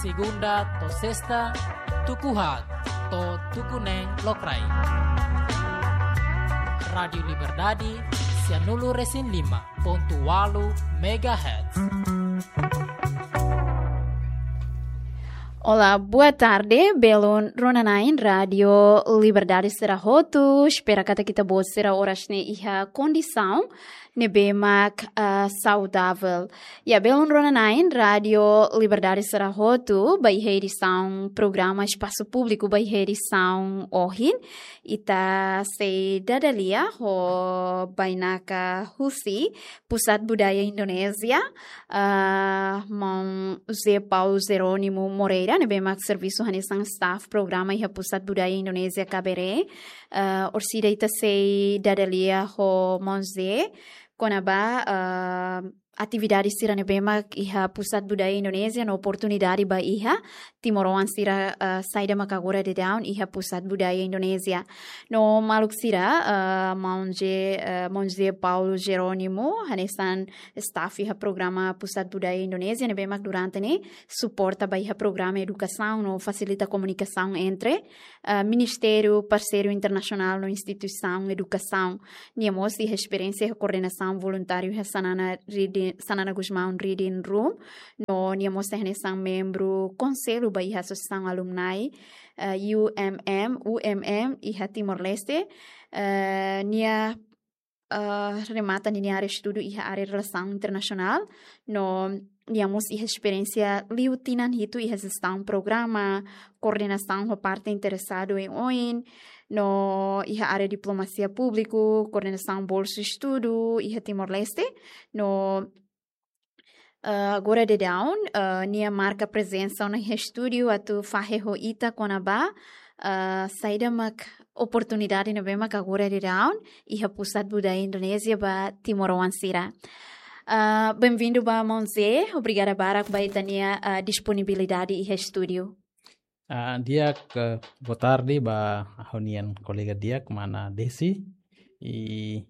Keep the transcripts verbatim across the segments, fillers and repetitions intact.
Segunda to'o sesta, tuku haat to'o tuku neen lokraik. Rádiu Liberdade, sianulu-resin-lima pontu ualu megahertz. Olá, boa tarde. Belun rona-na'in Rádiu Liberdade sira hotu. Espera katak ita-boot sira oras ne'e iha kondisaun ne'ebé mak, ah, saudavel. Ya, belun rona-na'in Rádiu Liberdade sira hotu, ba iha edisaun programa Espasu Públiku, ba iha edisaun ohin. Ita sei dada lia ho bainaka husi Pusat Budaya Indonézia, ah, maun José Paulo Jerónimo Moreira, ne'ebé mak servisu hanesan staff programa iha Pusat Budaya Indonézia Kabaré. Ah, orsida ita sei dada lia ho maun José kona-ba, ah, atividade sira ne'ebé mak iha Pusat Budaya Indonézia no oportunidade ba iha timoroan sira, ah, saida mak agora daudaun iha Pusat Budaya Indonézia. No maluk sira, ah, maun José, ah, maun José Paulo Jerónimo, hanesan staff iha programa Pusat Budaya Indonézia, ne'ebé mak durante ne'e suporta ba iha programa edukasaun no fasilita komunikasaun entre, ah, ministériu parseiru internasionál no instituisaun edukasaun. Nia mós iha esperiénsia iha koordenasaun voluntáriu iha Xanana Reading, Xanana Gusmão Reading Room. No nia mós iha hanesan membru konsellu ba iha Asosiasaun Alumni, eh, U M M, U M M iha Timor-Leste. Eh, nia, eh, remata ninia área estudu iha área relasaun internasionál. No nia mós iha esperiénsia liu tinan hitu iha jestaun programa, koordenasaun ho parte interesadu oioin, no iha área diplomasia públiku, koordenasaun bolsu estudu iha Timor-Leste. No, eh, agora daudaun, eh, nia marka prezensa ona iha estúdiu atu fahe ho ita kona-ba, eh, saida mak oportunidade ne'ebé mak agora daudaun iha Pusat Budaya Indonézia ba timoroan sira. Ah, benvindu ba maun José, obrigada barak ba ita-nia, ah, disponibilidade iha estúdiu. Ah, di'ak, eh, boa tarde ba ha'u-nian kolega di'ak, mana Desi. I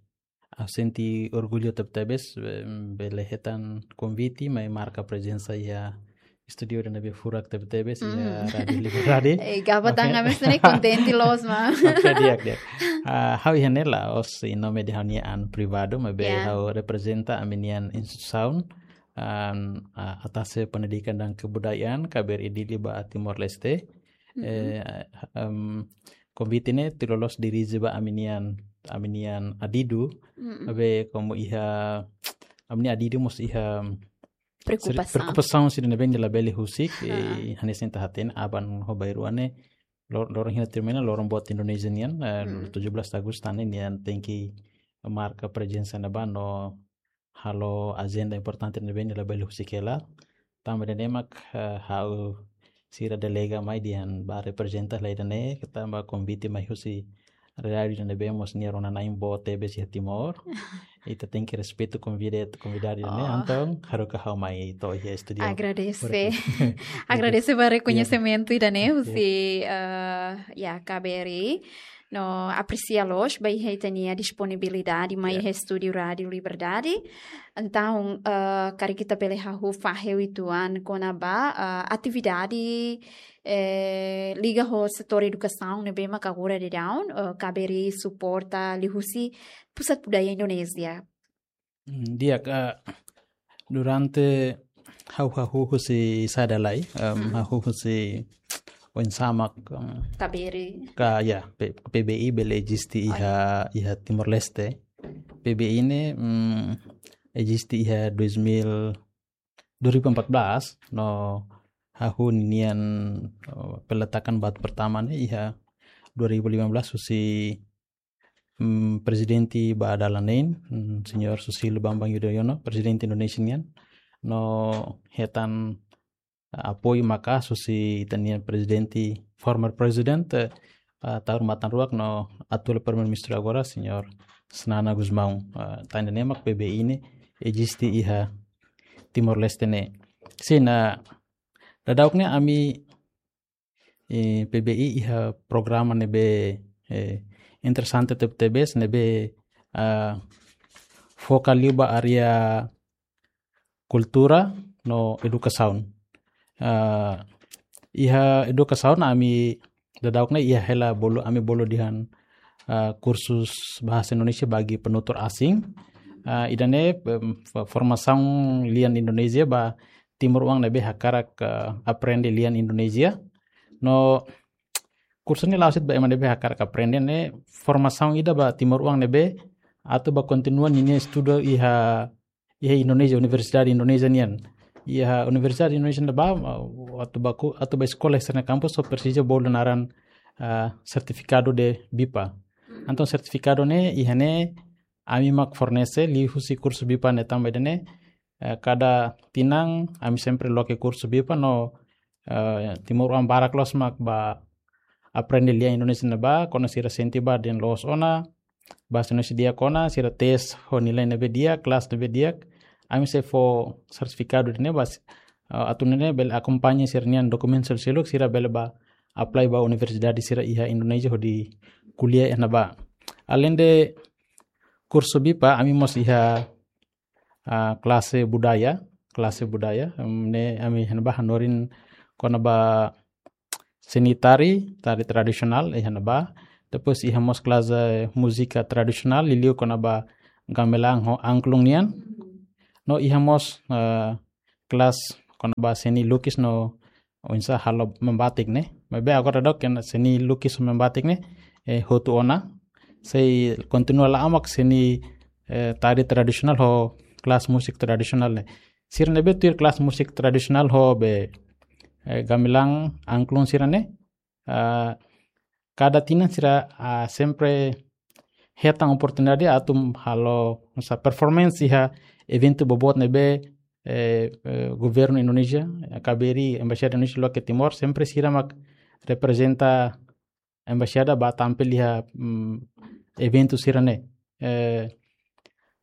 ha'u sente orgullu tebetebes, eh, bele hetan konvite mai marka prezensa iha estúdiu ida-ne'ebé furak tebetebes iha, mm, Rádiu Liberdade. Eh, gaba tan, oke, ami sente kontente loos, ma. Oke, di'ak, di'ak. Ah, ha'u iha ne'e la'ós iha nome de ha'u-nia an privadu, maibé, ya, ha'u reprezenta ami-nian instituisaun, an, ah, Atase Pendidikan dan Kebudayaan, K B R I Dili ba Timor-Leste. Mm-mm. Eh, em, konvite ne'e tuir loloos dirije ba ami-nian, ami-nian adidu, mm-mm, maibé komu iha, ami-nian adidu mós iha seri-, preokupasaun, preokupasaun sira ne'ebé labele husik, ha, eh, hanesan ita hatene, aban ho bainrua ne'e, lor-, loron hina termina, loron boot Indonézia nian, eh, hmm, tujuh belas Agustus ne'e, nia tenke marka prezensa ne'ebá no halo ajenda importante ne'ebé labele husik hela. Tanba ida-ne'e mak, eh, ha'u sira delega mai dehan bá reprezenta hela ida-ne'e, tanba konvite mai husi rádiu ida ne'ebé mós nia rona-na'in boot tebes iha Timor. Ita tenke respeitu konvida-, konvidadu ne'e, oh, entaun haruka ha'u mai to'o iha estúdiu. Agradese. Obrigadu. Agradese ba, ya, rekoñesimentu ida-ne'e, ya, husi, eh, ya, K B R I. No apresia loos ba iha ita-nia disponibilidade mai, ya, iha estúdiu Rádiu Liberdade. Entaun, eh, karik ita bele hahú fahe uitoan kona-ba, eh, atividade, eh, liga ho setór edukasaun ne'ebé maka agora daudaun, eh, K B R I suporta liuhusi Pusat Budaya Indonézia. Hmm, di'ak, eh, durante ha'u hahú husi sala lai, em, hmm, hahú husi oinsá mak, em, K B R I. Ka, ya, P-, P B I bele eziste, oh, iha, iha Timor-Leste. P B I ne'e, mm, eziste iha dois mil, dua ribu empat belas, no hahú nian, eh, peletakan batu pertama ne'e iha dua ribu lima belas husi, mm, prezidente ba dala neen, mm, Señór Susilo Bambang Yudhoyono, prezidente Indonézia nian, no hetan, eh, apoiu maka'as husi ita-nia prezidente, former president, eh, eh, tahun matan ruak no atuál primeiru-ministru agora, Señór Xanana Gusmão. Eh, tan ida-ne'e mak P B I ne'e eziste iha Timor-Leste ne'e. Sin, eh, daudaun ne'e ami, eh, P B I iha programa ne'ebé, eh, interesante tebetebes ne'ebé, ah, foka liu ba área kultura no edukasaun. Ah, Iha edukasaun ami daudauk ne'e iha hela bolu, ami bolu dehan, ah, kursus bahasa Indonesia bagi penutur asing. Ah, ida-ne'e, em, fo-, formasaun lian Indonézia ba timoroan ne'ebé hakarak, ah, aprende lian Indonézia. No kursu ne'e la'ós de'it ba ema ne'ebé hakarak aprende, ne'e formasaun ida ba timoroan ne'ebé atu ba kontinua ninia estudu iha, iha Indonézia, universidade Indonézia nian. Iha universidade Indonézia ne'ebá, ah, atu ba ku-, atu ba eskola iha sira-nia kampus só presiza bolu naran, ah, sertifikadu de BIPA. Entaun sertifikadu ne'e iha ne'e ami mak fornese liuhusi kursu BIPA ne'e, tanba ida-ne'e, eh, kada tinan ami sempre loke kursu BIPA no, eh, timoroan barak loos mak ba aprende lian Indonézia ne'ebá, kuandu sira sente ba dehan loos ona, bahasa Indonesia di'ak ona, sira tes ho nilai ne'ebé di'ak, kelas ne'ebé di'ak, ami sei fó sertifikadu ida-ne'e ba, eh, atu nune'e bele akompaña sira-nia dokumentu seluk, sira bele ba apply ba universidade sira iha Indonézia hodi ko'alia iha ne'ebá. Além de kursu BIPA, ami mós iha, ah, klase budaya, klase budaya, em, ne'e ami iha ne'ebá hanorin kona-ba seni tari, tari tradisionál iha ne'ebá. Depois iha mós klase múzika tradisionál, liuliu kona-ba gamelan ho angklung nian. No iha mós, eh, kelas kona-ba seni lukis no oinsá halo membatik ne'e. Maibé agora daudauk seni lukis ho membatik ne'e, eh, hotu ona. Sei kontinua la'o mak seni, eh, tari tradisionál ho kelas musik tradisionál ne'e. Sira ne'ebé tuir kelas musik tradisionál ho be, eh, gamelan angklung sira-ne'e, ah, kada tinan sira, ah, sempre hetan oportunidade atu halo, oinsá, performance iha eventu boboot ne'ebé, eh, eh, governu Indonézia, eh, K B R I, Embaixada Indonézia loke Timor, sempre sira mak reprezenta embaixada ba tampil iha, mm, eventu sira-ne'e. Eh,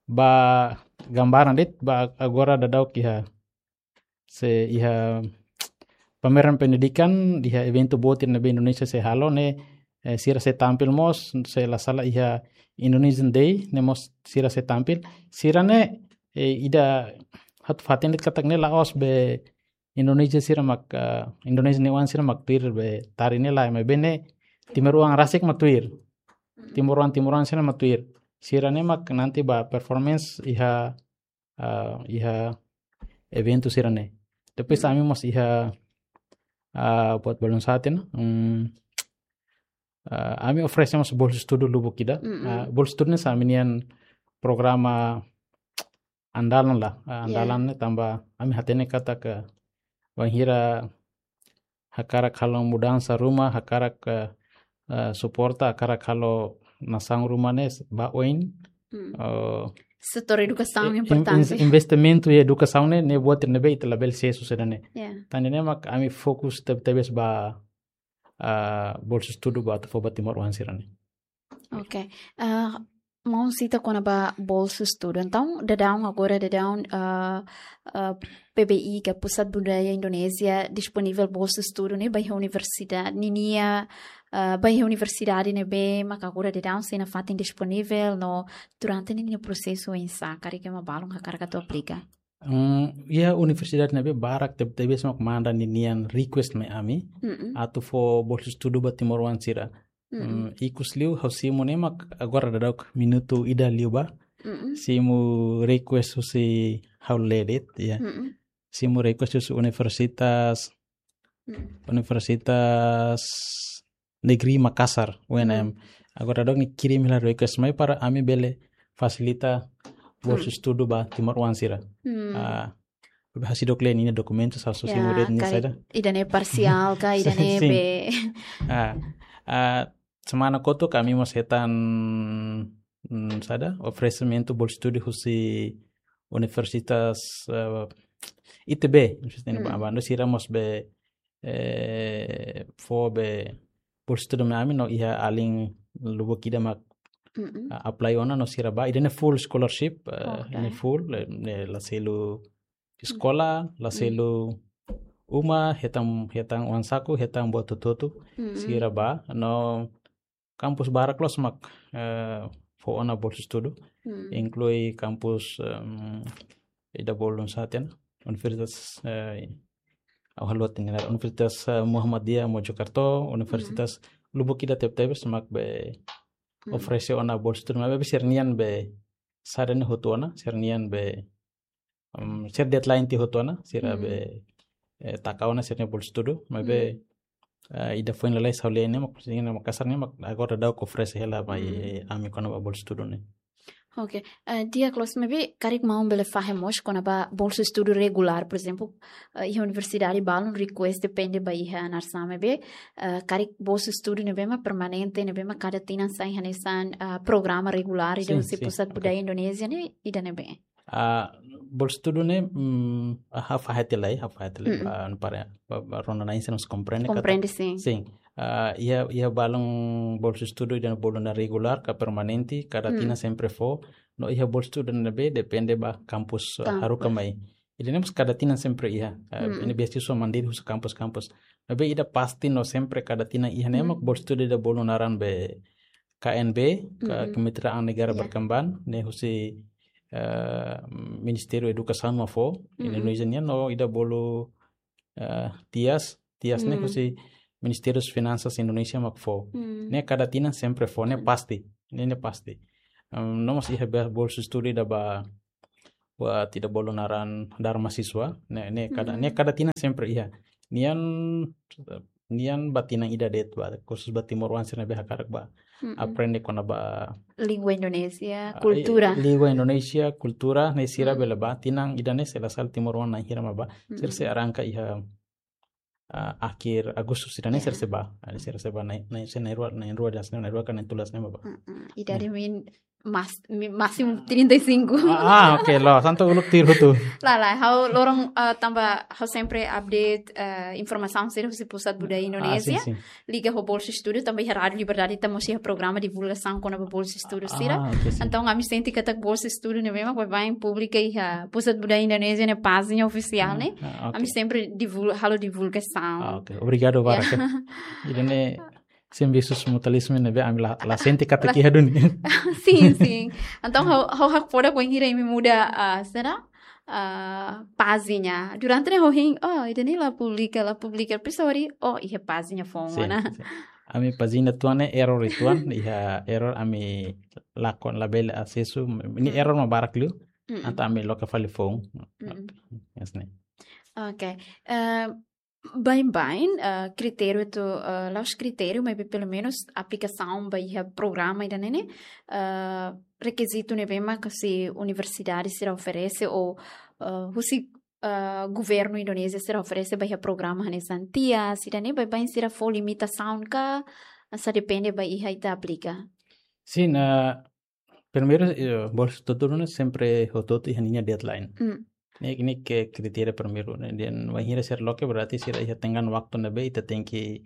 ba gambaran de'it, ba agora daudauk iha, sei iha pameran pendidikan, iha eventu boot ne'ebé Indonézia sei halo ne'e, eh, sira sei tampil mós, se la sala iha Indonesian Day, ne'e mós sira sei tampil. Sira-ne'e, eh, ida atu hatene katak ne'e la'ós be Indonézia sira mak, eh, Indonézia nia oan sira mak tuir be tari ne'e lae, maibé ne'e timoroan rasik mak tuir. Timoroan, timoroan sira mak tuir. Sira-ne'e mak nanti ba performance iha, ah, iha eventu sira-ne'e. Depois ami mós iha, ah, buat balun sá tiha ona. Hmm, ah, ami oferese mós bolsa estudu lubuk ida. Ah, bolsa estudu ne'e hanesan ami-nian programa andalan lah. Ah, andalan ne'e tanba ami hatene katak bainhira hakarak halo mudansa ruma, hakarak, eh, eh, suporta, hakarak halo nasaun ruma ne'e ba oin. Eh, setór edukasaun in-, in-, importante. Investimentu iha edukasaun ne'e, ne'e buat ne'ebé ita labele sees saida ne'e. Tan ne'e mak ami fokus teb-, tebes ba, ah, bolsa estudu ba atu fó ba timoroan sira-ne'e. Ok. Ah, maun sita kona-ba bolsa estudu. Entaun, daudaun agora, daudaun, ah, ah, P B I ka Pusat Budaya Indonézia disponivel bolsa estudu ne'e ba iha universidade, ninia, ah, ba iha universidade ne'ebé maka agora daudaun sei nafatin disponivel no durante ninia prosesu oinsá, karik ema balun hakarak atu aplika. Hmm, iha universidade ne'ebé barak teb-, tebes mak manda ninia request mai ami atu fó bolsa estudu ba timoroan sira. Hmm, ikus liu ha'u simu ne'e mak agora daudauk minutu ida liubá. Simu request husi ha'u lee de'it, ya. Simu request husi universitas, Universitas Negeri Makassar, U N M. Agora daudaun ne'e kirim hela request mai para ami bele fasilita bolsa estudu ba timoroan sira. Ah, be ha'u sei doklei ninia dokumentu, ha'u sei simu de'it nia karik saida. Ida-ne'e parsiál ka, ida-ne'e be. Ah, ah, semana kotuk ami mós hetan, mm, saida, oferesimentu bolsa estudu husi Universitas, eh, I T B, Universitas Indonesia, sira mós be, eh, fó be bolsa estudu mai ami no iha alin lubuk ida mak, ah, apply ona no sira bá, ida-ne'e full scholarship, eh, ne'e full, eh, ne'e la selu eskola, la selu uma, hetan, hetan uang saku, hetan buat hotu-hotu, sira bá, no kampus barak loos mak, eh, fó ona bolsa estudu, inklui kampus, em, ida balun sá tiha ona, Universitas, eh, Ha'u haluha tiha ona Universitas, eh, Muhammadiyah Mojokerto, universitas lubuk ida tebetebes mak be oferese ona bolsa estudu, maibé sira-nian be sira ne'e hotu ona, sira-nian be, em, sira deadline tiha hotu ona, sira be, eh, taka ona sira-nia bolsa estudu, maibé, eh, ida foin lalais ha'u lee ne'e mak, sira-nia mak kasar ne'e mak agora daudaun oferese hela mai ami kona-ba bolsa estudu ne'e. Ok. Eh, di'ak loos, maibé karik maun bele fahe mós kona-ba bolsa estudu regulár, por ezemplu, eh, iha universidade balun request depende ba iha nasaun, maibé, eh, karik bolsa estudu ne'ebé mak permanente, ne'ebé mak kada tinan sai hanesan, eh, programa regulár ida husi Pusat Budaya Indonézia ne'e, ida ne'ebé? Ah, bolsa estudu ne'e, mm, ha'u fahe tiha lai, ha'u fahe tiha lai, ah, para, ba, ba, rona na'in-san mós komprende katak. Komprende, sin. Sin. Ah, iha, iha balun bolsa estudu ida bolu ona regulár ka permanente, kada tinan sempre fó, no iha bolsa estudu ne'ebé depende ba kampus, ah, haruka mai. Ida-ne'e mós kada tinan sempre iha. Ah, ne'e beasiswa mandiri husi kampus-kampus. Maibé ida pasti no sempre kada tinan iha ne'e mak bolsa estudu ida bolu naran be K N B, ka Kemitraan Negara Berkembang, ne'e husi, eh, Ministériu Edukasaun mak fó, Indonézia nian, no ida bolu, eh, TIAS, TIAS ne'e husi Ministériu Finansas Indonézia mak fó. Ne'e kada tinan sempre fó, ne'e pasti, ne'e, ne'e pasti. Em, no mós iha be-, bolsa estudu ida ba, buat ida bolu naran Dharma Siswa, ne'e, ne'e kada, ne'e kada tinan sempre iha. Nian, nian ba tinan ida de'it ba, khusus ba timoroan sira ne'ebé hakarak ba aprende kona-ba língua Indonézia, ah, kultura. Língua Indonézia, kultura, ne'e sira bele ba, tinan ida-ne'e se la sala timoroan na'in hira mak ba. Sira sei arranka iha, ah, akhir Agustus sira-ne'e sira sei ba. Ah, sira sei ba na'in, na'in, se na'in rua, na'in rua das, na'in rua ka na'in tolu das ne'e mak ba. Mm-mm. Idade min mas-, mi-, másimu trinta e cinco. Ah, ah, ok, loos. Entaun uluk tuir hotu. Lae, lae, ha'u loron, ah, tanba ha'u sempre update, ah, informasaun sira husi Pusat Budaya Indonézia. Ah, sin, sin. Liga ho bolsa estudu, tanba iha Rádiu Liberdade ita mós iha programa divulgasaun kona-ba bolsa estudu sira. Ah, ok, sin. Entaun ami sente katak bolsa estudu ne'ebé mak baibain publika iha Pusat Budaya Indonézia nia pájina ofisiál ne'e. Ah, ok. Ami sempre divul-, halo divulgasaun. Ah, ok. Obrigadu barak. Ida-ne'e servisu mutualismu ne'ebé ami la, la sente katak iha duni. Sin, sin. Entaun ha'u, ha'u hakfodak bainhira imi muda, ah, sira, ah, pájina. Durante ne'e ha'u hein, oh, ida-ne'e la publika, la publika. Depois ha'u haree, oh, iha pájina foun ona. Sin, sin. Ami pájina uitoan ne'e error uitoan, iha error ami lakon labele asesu, ne'e error mak barak liu. Mm-mm. Entaun ami loke fali foun. Mm-mm. Yes, ne'e. Ok. Eh, baibain, eh, kritériu atu, eh, la'ós kritériu, maibé pelumenus aplikasaun ba iha programa ida-ne'e ne'e, eh, rekizitu ne'ebé mak husi universidade sira oferese ou, eh, husi, eh, governu Indonézia sira oferese ba iha programa hanesan TIAS, ida-ne'e baibain sira fó limitasaun ka, sá depende ba iha ita aplika? Sin, eh, primeiru, eh, bolsa estudu ne'e sempre hotu-hotu iha ninia deadline. Mm. Ne'e, ne'e ke kritéria primeiru, ne'e. Dehan bainhira sira loke berarti sira iha tenggang waktu ne'ebé ita tenke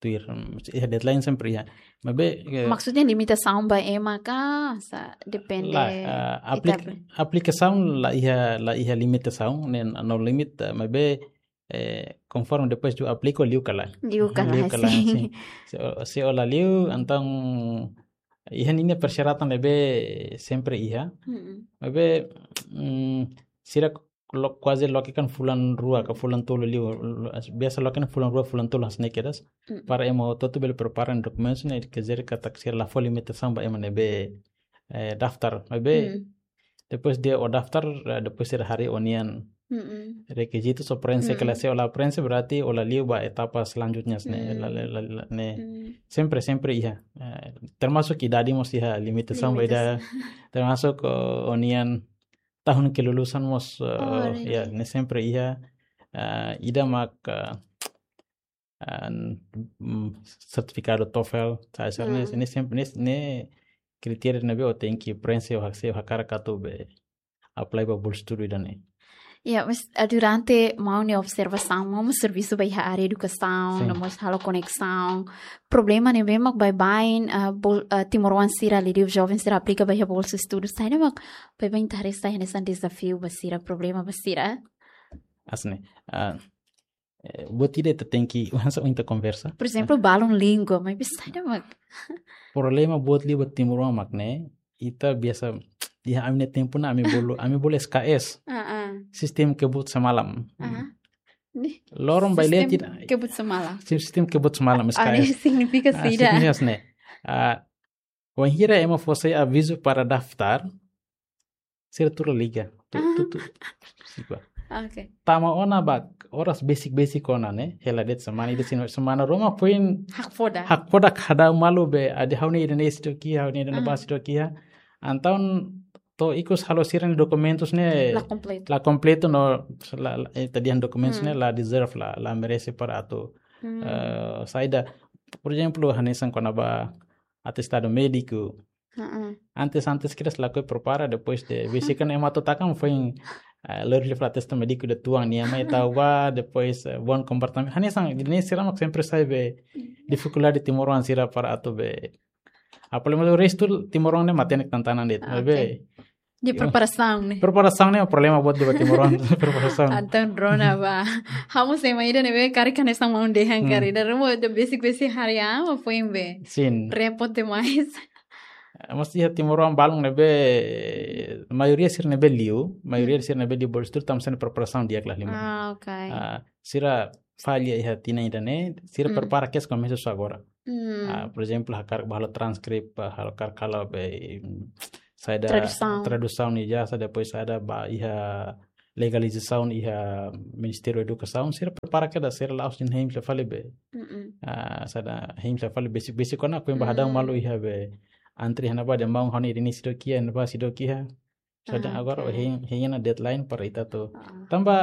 tuir, mm, iha deadline sempre iha. Maibé, eh, maksudnya limitasaun ba ema ka, sá depende, lae, eh, aplik-, ita be- aplikasaun la iha, la iha limitasaun, ne'e no limit, eh, maibé eh, konforme depois de aplika liu ka lae. Liu ka lae, liu ka lae, sin. Sin. Se, se la liu, entaun iha ninia persyaratan ne'ebé sempre iha. Mm-mm. Maibé, mm, sira lo-, kuaze loke kan fulan rua ka fulan tolu liu, lo-, biasa loke kan fulan rua, fulan tolu hanesan ne'e kedas. Mm-mm. Para ema hotu-hotu bele prepara dokumentu ne'e, quer dizer katak sira la fó limitasaun ba ema ne'ebé, eh, daftar. Maibé, mm, depois de ó daftar, eh, depois sira haree ó-nian, mm-mm, rekizitu, se ó preenxe, mm-mm, ka lae, se ó la preenxe, berarti ó la liu ba etapa selanjutnya, ne'e, mm, la, la, la, la, ne'e. Mm. Sempre, sempre iha. Eh, termasuk idade mós iha limitasaun ba ida, limitasaun, termasuk, eh, ó-nian tahun kelulusan mós, eh, oh, really? Ya, ne'e sempre iha, eh, ida mak, eh, an, mm, sertifikadu TOEFL, sá, sá, ne'e, mm, ne'e sempre, ne'e, ne'e kritéria ne'ebé ó tenke preenxe, ó hak-, se ó hakarak atu be apply ba bolsa estudu ida-ne'e. Ya, mas, eh, durante maun nia observasaun, maun mós servisu ba iha área edukasaun, sin, no mós halo koneksaun. Problema ne'ebé mak baibain, eh, bol-, eh, timoroan sira, liuliu joven sira aplika ba iha bolsa estudu, saida mak baibain ita haree sai hanesan dezafiu ba sira, problema ba sira? Hanesan ne'e, ah, eh, buat ida ita tenke, hanesan ohin ita konversa. Por ezemplu, ah, balun língua, maibé saida mak? Problema buat liu ba timoroan mak ne'e, ita biasa, iha ami-nia tempu ne'e ami bolu, ami bolu S K S. Ah, ah. Sistema kebut semalam. Ah. Ne'e. Loron ba iha Sistema letra. Kebut Semala. Sistema kebut semala, mas Ah, ne'e kais. signifika Ah, saida? Significa ne'e. Ah, wainhira ema fó sai avizu para daftar, sira tuur liga. Tu, Ah. tu, tu, sipa. Oke. Tama ona ba oras besik-besik ona ne'e, hela de'it semana ida, semana ruma foin Hakfodak. hakfodak hadau malu be, adi ha'u-nia ida-ne'e seidauk iha, ha'u-nia ida-ne'e Ah. bá seidauk iha. Entaun to'o ikus halo sira-nia dokumentus ne'e La kompletu. la kompletu no la, la, eh, tadi han dokumentus Hmm. ne'e la deserve, la, la merese para atu, Hmm. eh, saida. Por ezemplu, hanesan kona-ba atestadu médiku. Heeh. Antes, antes kedas lakohi prepara, depois de besik kan ema atu taka foin, eh, lori fla atestadu médiku de tuan nia mai tau ba, depois, eh, bom comportamento. Hanesan, ne'e sira mak sempre sai be difikuldade timoroan sira para atu be. Apalagi restu timoroan ne'e matenek tantanan de'it. Ah, Be, oke. De preparasaun ne'e. Preparasaun ne'e problema buat de timoroan, preparasaun. Entaun rona ba. Ha'u mós ema ida ne'ebé karik hanesan maun dehan Hmm. karik. Ida ruma de besik-besik hari ama foin be. Sin. Repot demais. Mas iha timoroan balun ne'ebé, maioria sira ne'ebé liu, maioria Hmm. sira ne'ebé liu bolsu tuir, tanba sira-nia preparasaun di'ak la halimar. Ah, oke. Ah, sira falla iha tinan ida-ne'e, sira Hmm. prepara kedas komesa só agora. Hmm. Ah, por ezemplu, hakarak ba halo transkrip, ba halo, hakarak halo be, mm, saida Tradusaun. Tradusaun ijazah, depois saida ba iha legalizasaun iha Ministériu Edukasaun, sira prepara kedas, sira la'ós de'it hein fila fali be. Mm-mm. Ah, saida hein fila fali besik-besik kona foin ba hadau Hmm. malu iha be. Antre iha ne'ebá dehan maun ha'u-nia ida-ne'e seidauk iha, ne'ebá seidauk iha. Saida Ah, agora oke. hein, hein ona deadline para ita atu. Ah. Tanba